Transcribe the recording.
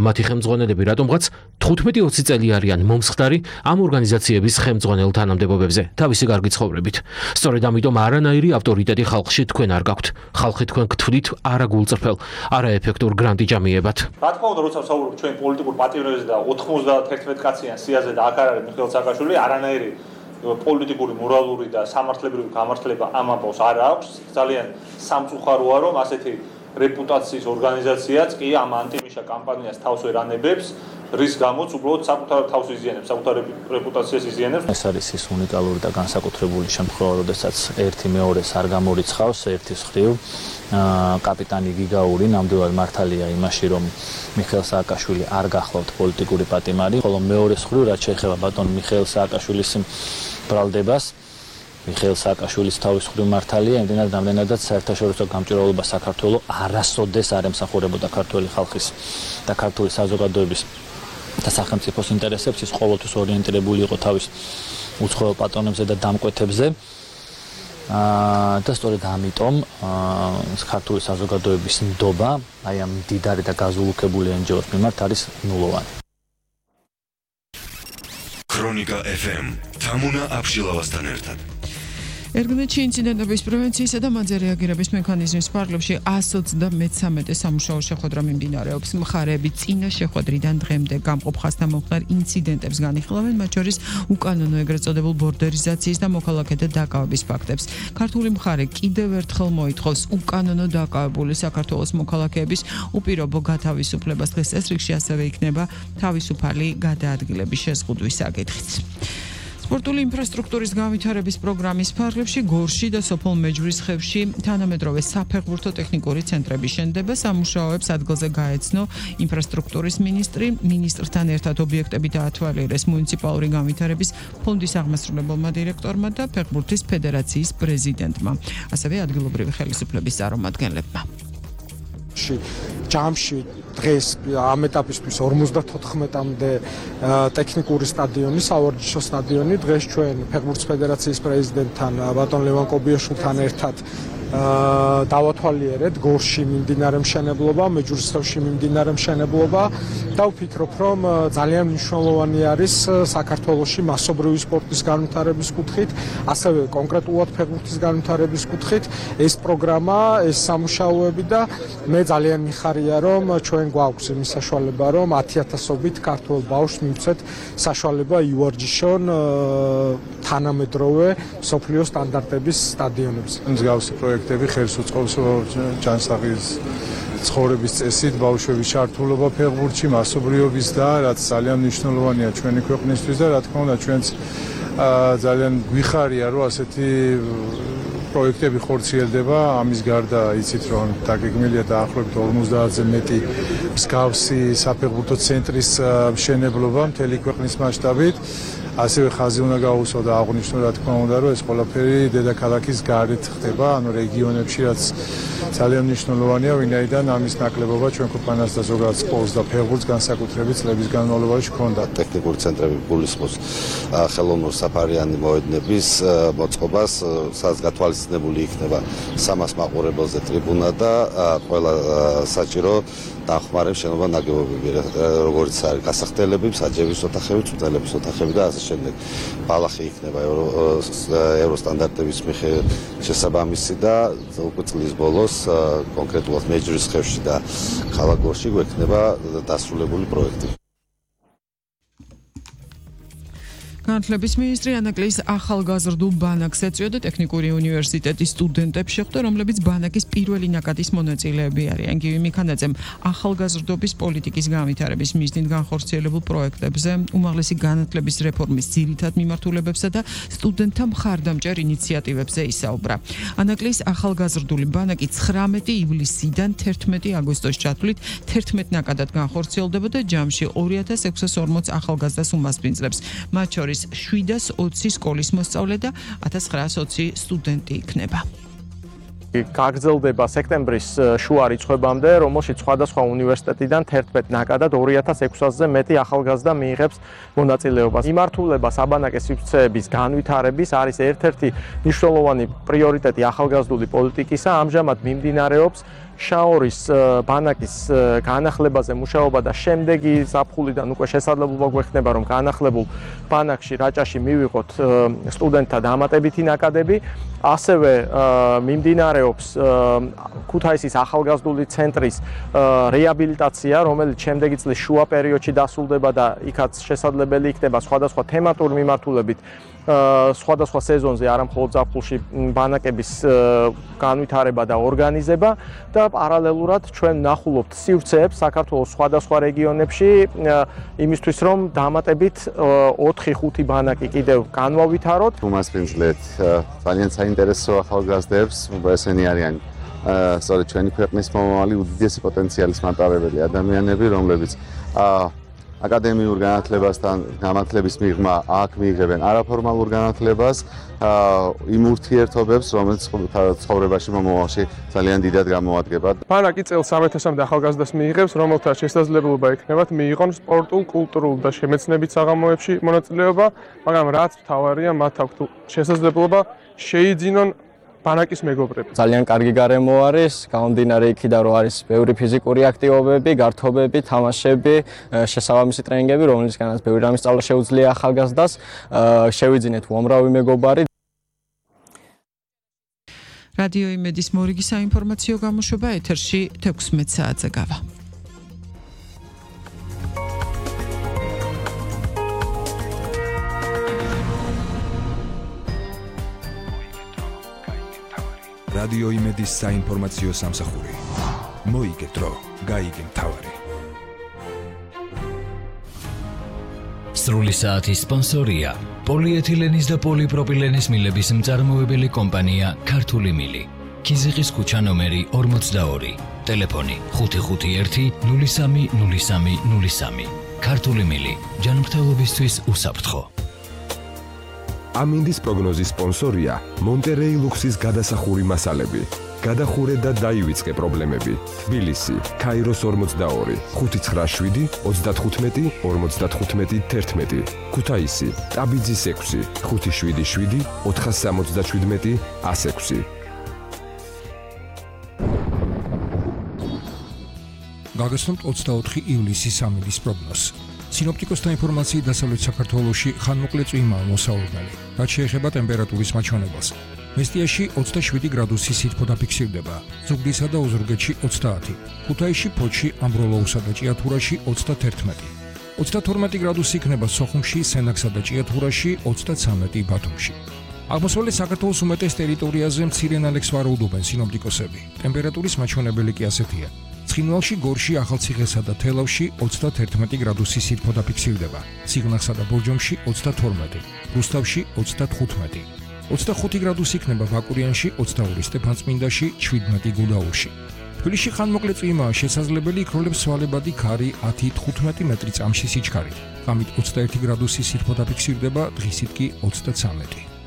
მათი ხელმძღვანელები რატომღაც 15-20 წელი არიან მომსხდარი ამ ორგანიზაციების ხელმძღვანელ თანამდებობებზე თავისი კარგი ცხოვრებით. სწორედ ამიტომ არანაირი ავტორიტეტი ხალხში თქვენ არ გაქვთ. ხალხი თქვენ გთვლით არაგულწრფელ, არაეფექტურ გრანტიჯამიებად. რა თქმა უნდა, როცა ვსაუბრობ ჩვენ პოლიტიკურ პატიმრებზე და 91 კაციან სიაზე და აქ არ არის მიხეილ სააკაშვილი, არანაირი პოლიტიკური, მორალური და სამართლებრივი გამართლება ამ ამბავს არ აქვს. ძალიან სამწუხაროა, რომ ასეთი რეპუტაციის ორგანიზაციაც კი ამ ანტიმიშა კამპანიას თავს ვერ ანებებს, რის გამოც უბრალოდ საკუთარ თავს იზიანებს, საკუთარ რეპუტაციას იზიანებს. ეს არის ის უნიკალური და განსაკუთრებული შემთხვევა, როდესაც ერთი მეორეს არ გამორიცხავს ერთის მხრივ. კაპიტანი გიგაური ნამდვილად მართალია იმაში, რომ მიხეილ სააკაშვილი არ გახლავთ პოლიტიკური პატიმარი, ხოლო მეორეს მხრივ, რაც შეეხება ბატონ მიხეილ სააკაშვილის ბრალდებას, მიხეილ სააკაშვილის თავის მხრივ მართალია, იმდენად რამდენადაც საერთაშორისო გამჭვირვალობა საქართველოს არასოდეს არ ემსახურებოდა ქართველი ხალხის და ქართული საზოგადოების და სახელმწიფოს ინტერესებს, ის ყოველთვის ორიენტირებული იყო თავის უცხოელ პატრონებზე და დამკვეთებზე. და სწორედ ამიტომ ქართული საზოგადოების ნდობა აი ამ მდიდარი და გაზულუქებული NGO-ს მიმართ არის ნულოვანი. ქრონიკა FM თამუნა აბშილავასთან ერთად. ერგმეთში ინციდენტების პრევენციისა და მათზე რეაგირების მექანიზმის ფარგლებში 133 სამუშაო შეხვედრა მიმდინარეობს. მხარეები წინა შეხვედრიდან დღემდე გამყოფ ხასთამომხდარ ინციდენტებს განიხილავენ, მათ შორის უკანონო ეგრეთ წოდებულ ბორდერიზაციის და მოქალაქეთა დაკავების ფაქტებს. ქართული მხარე კიდევ ერთხელ მოითხოვს უკანონო დაკავებული საქართველოს მოქალაქეების უპირობო გათავისუფლებას. დღეს წესრიგში ასევე იქნება თავისუფალი გადაადგილების შეზღუდვის საკითხიც. სპორტული ინფრასტრუქტურის განვითარების პროგრამის ფარგლებში გორში და სოფელ მეჯვრისხევში თანამედროვე საფეხბურთო ტექნიკური ცენტრები შენდება. სამუშაოებს ადგილზე გაეცნო ინფრასტრუქტურის მინისტრი. მინისტრთან ერთად ობიექტები დაათვალიერეს მუნიციპალური განვითარების ფონდის აღმასრულებელმა დირექტორმა და ფეხბურთის ფედერაციის პრეზიდენტმა, ასევე ადგილობრივი ხელისუფლების წარმომადგენლებმა. ჯამში დღეს ამ ეტაპისთვის 54-მდე ტექნიკური სტადიონი, სავარჯიშო სტადიონი. დღეს ჩვენ ფეხბურთის ფედერაციის პრეზიდენტთან ბატონ ლევან კობიაშვილთან ერთად დავათვალიერეთ გორში მიმდინარე მშენებლობა, მეჯვრისხევში მიმდინარე მშენებლობა და ვფიქრობ, რომ ძალიან მნიშვნელოვანი არის საქართველოში მასობრივი სპორტის განვითარების კუთხით, ასევე კონკრეტულად ფეხბურთის განვითარების კუთხით ეს პროგრამა, ეს სამუშაოები და მე ძალიან მიხარია, რომ ჩვენ გვაქვს იმის საშუალება, რომ 10,000-ობით ქართველ ბავშვს მივცეთ საშუალება ივარჯიშონ თანამედროვე მსოფლიო სტანდარტების სტადიონებზე. მსგავსი პროექტები ხელს უწყობს ჯანსაღის ცხოვრების წესით ბავშვების ჩართულობა ფეხბურთში, მასობრიობის და რაც ძალიან მნიშვნელოვანია ჩვენი ქვეყნისთვის და რა თქმა უნდა ჩვენც ძალიან გვიხარია, რომ ასეთი პროექტები ხორციელდება. ამის გარდა იცით, რომ დაგეგმილია დაახლოებით 50-ზე მეტი მსგავსი საფეხბურთო ცენტრის მშენებლობა მთელი ქვეყნის მასშტაბით. ასევე ხაზი უნდა გაუსვა და აღვნიშნო, რა თქმა უნდა, რომ ეს ყველაფერი დედაქალაქის გარეთ ხდება, ანუ რეგიონებში, რაც ძალიან მნიშვნელოვანია, ვინაიდან ამის ნაკლებობა ჩვენ ქვეყანას და ზოგადად სპორტს და ფეხბურთს განსაკუთრებით წლების განმავლობაში ჰქონდა. ტექნიკური ცენტრები გულისხმობს ხელოვნურ საფარიანი მოედნების მოწყობას, სადაც გათვალისწინებული იქნება 300 მაყურებელზე ტრიბუნა და ყველა საჭირო დახმარების შენობა ნაგებობები, როგორც არის გასახდელები, საჯების ოთახები, წვრთნელების ოთახები და ასე შემდეგ. ბალახი იქნება ევროსტანდარტების შესაბამისი და უკვე წლის ბოლოს კონკრეტულად მეჯვრისხევში და ქალაქ გორში გვექნება დასრულებული პროექტი. განათლების მინისტრი ანაკლის ახალგაზრდულ ბანაკს ეწვია და ტექნიკური უნივერსიტეტის სტუდენტებს შეხვდა, რომლებიც ბანაკის პირველი ნაკადის მონაწილეები არიან. გივი მიქანაძემ ახალგაზრდობის პოლიტიკის განვითარების მიზნით განხორციელებულ პროექტებზე, უმაღლესი განათლების რეფორმის ძირითად მიმართულებებსა და სტუდენტთა მხარდამჭერ ინიციატივებზე ისაუბრა. ანაკლის ახალგაზრდული ბანაკი 19 ივლისიდან 11 აგვისტოს ჩათვლით 11 ნაკადად განხორციელდება და ჯამში 2640 ახალგაზრდას უმასპინძლებს. მათ შორის 720 სკოლის მოსწავლე და 1920 სტუდენტი იქნება. გაგრძელდება სექტემბრის შუა რიცხვებამდე, რომელშიც სხვადასხვა უნივერსიტეტიდან 11 ნაკადად 2600-ზე მეტი ახალგაზრდა მიიღებს მონაწილეობას. იმართულება საბანაკე სივრცეების განვითარების არის ერთ-ერთი მნიშვნელოვანი პრიორიტეტი ახალგაზრდული პოლიტიკისა. ამჟამად მიმდინარეობს შაორის ბანაკის განახლებაზე მუშაობა და შემდეგი ზაფხულიდან უკვე შესაძლებლობა გვექნება, რომ განახლებულ ბანაკში რაჭაში მივიღოთ სტუდენტთა დამატებითი ნაკადები. ასევე მიმდინარეობს ქუთაისის ახალგაზრდული ცენტრის რეაბილიტაცია, რომელიც შემდეგი წლის შუა პერიოდში დასრულდება და იქაც შესაძლებელი იქნება სხვადასხვა თემატური მიმართულებით სხვადასხვა სეზონზე, არა მხოლოდ ზაფხულში ბანაკების განვითარება და ორგანიზება და პარალელურად ჩვენ ვნახულობთ სივრცეებს საქართველოს სხვადასხვა რეგიონებში იმისთვის, რომ დამატებით 4-5 ბანაკი კიდევ განვავითაროთ. უმასპინძლეთ ძალიან საინტერესო ახალგაზრდებს, ესენი არიან სწორედ ჩვენი ქვეყნის მომავალი უდიდესი პოტენციალის მატარებელი ადამიანები, რომლებიც აკადემიურ განათლებასთან განათლების მიღმა აქ მიიღებენ არაფორმალურ განათლებას, იმ ურთიერთობებს, რომელიც ცხოვრებაში მომავალში ძალიან დიდად გამოადგება. ბანაკი წელს 3000-მდე ახალგაზრდას მიიღებს, რომელთა შესაძლებლობა ექნებათ მიიღონ სპორტულ, კულტურულ და შემეცნებით საღამოებში მონაწილეობა, მაგრამ რაც მთავარია, მათ აქვთ შესაძლებლობა შეიძინონ ბანაკის მეგობრები. ძალიან კარგი გარემო არის, გამომდინარე იქიდან, რომ არის ბევრი ფიზიკური აქტივობები, გართობები, თამაშები, შესაბამისი ტრენინგები, რომლისგანაც ბევრი რამის სწავლა შეუძლია ახალგაზრდას, შევიძინეთ უამრავი მეგობარი. რადიო იმედის მორიგი საინფორმაციო გამოშვება ეთერში 16 საათზე გავა. რადიო იმედის საინფორმაციო სამსახური. მოიგეთ დრო, გაიგე მთავარი. სრული საათის სპონსორია პოლიეთილენის და პოლიპროპილენის მილების მწარმოებელი კომპანია ქართული მილი. ქიზიყის ქუჩა ნომერი 42. ტელეფონი 551 03 03 03. ქართული მილი. ჯანმრთელობისთვის უსაფრთხო. ამინდის პროგნოზის სპონსორია მონტერეი ლუქსის გადასახური მასალები. გადახურე და დაივიწყე პრობლემები. თბილისი, ქაიროს 42, 597, 35, 55, 11. ქუთაისი, ტაბიძის 6, 577, 477, 106. გაგაცნობთ 24 ივლისის ამინდის პროგნოზს. სინოპტიკოსთა ინფორმაციით დასავლეთ საქართველოში ხანმოკლე წვიმაა მოსაუბრებელი. რაც შეეხება ტემპერატურის მაჩვენებელს. მესტიაში 27 გრადუსი სითბო დაფიქსირდება, ზუგდიდსა და ოზურგეთში 30, ქუთაისში, ფოთში, ამბროლოუსა და ჭიათურაში 31. 32 გრადუსი იქნება სოხუმში, სენაკსა და ჭიათურაში, 33 ბათუმში. აღმოსავლეთ საქართველოს უმეტეს ტერიტორიაზე მცირე ნალექს ვარაუდობენ სინოპტიკოსები. ტემპერატურის მაჩვენებელი კი ასეთია. ცხინვალში, გორში, ახალციხესა და თელავში 31 გრადუსი სითბო დაფიქსირდება, სიღნაღსა და ბორჯომში 32, რუსთავში 35. 25 გრადუსი იქნება ვაკურიანში, 22 სტეფანწმინდაში, 17 გუდაურში. თბილისში ხანმოკლე წვიმაა შესაძლებელი, იქროლებს სვალებადი ქარი 10-15 მეტრი წამში სიჩქარით. ღამით 21 გრადუსი სითბო დაფიქსირდება, დღისით კი 33.